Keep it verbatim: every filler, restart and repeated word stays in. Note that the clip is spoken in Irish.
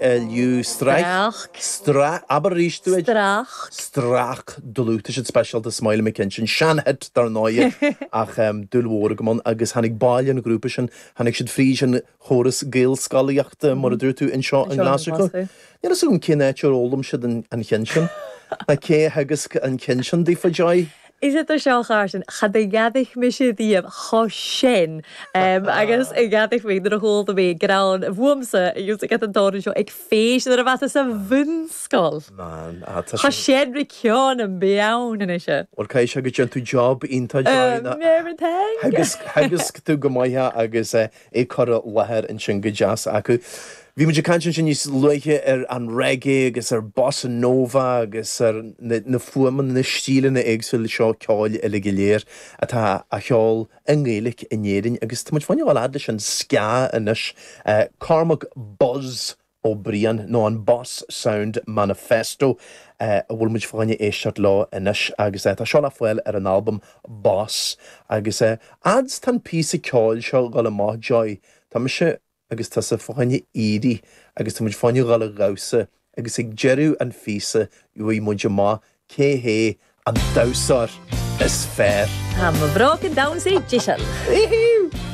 L U Strach. Strach. Stra abair arís dúinn. Strach. Strach dlúth. Tá siad speisialta Smiley McKinnon sean-hit dar ndóigh ach um, dúil mhór agam ann agus tháinig baill an ghrúpa sin, tháinig siad fríd an chóras Gaelscolaíochta mar a dúirt tú anseo in Glaschú. Níl a fhios agam cén áit ar fhoghlaim siad an an ceann sin. Na cé agus an ceann sin daofa, Joy? Is é seo sin cha gheadaich me sé díobh cho sin agus i gheadaich mé nuair a chuala mé greann bhuamsa agus ag an dá seo ag féis ar a bheith sa bhunscoil. Man, ah, tá Tá sé sin ri ceann an beann ina se. Bhuel cai se go déan tú job iontach, Joy na Agus agus tú go maithe agus é chur i láthair ansin go deas acu. Bhí muid ag caint sin níos luaithe ar an reggae agus ar bossa nova agus ar na, na fuaimeanna na stíleanna éagsúla seo ceoil uile go léir atá á cheol i nGaeilge in Éirinn agus tá muid fáin leis an ska anois uh, Cormac Buzz Ó Briain nó an Boss Sound Manifesto uh, a bhfuil muid fáinne éisteacht leo anois agus uh, tá seo le fáil ar an album Boss agus uh, ads tá píosa ceoil seo go amach Joy Tá mise agus tá sa fáinne éirí agus tá muid fáinne gáil a damhsa agus ag deireadh an phíosa gheobhaidh muid amach cé hé an damhsóir is fearr. Tá bhroch an damhsa díseal. Iú!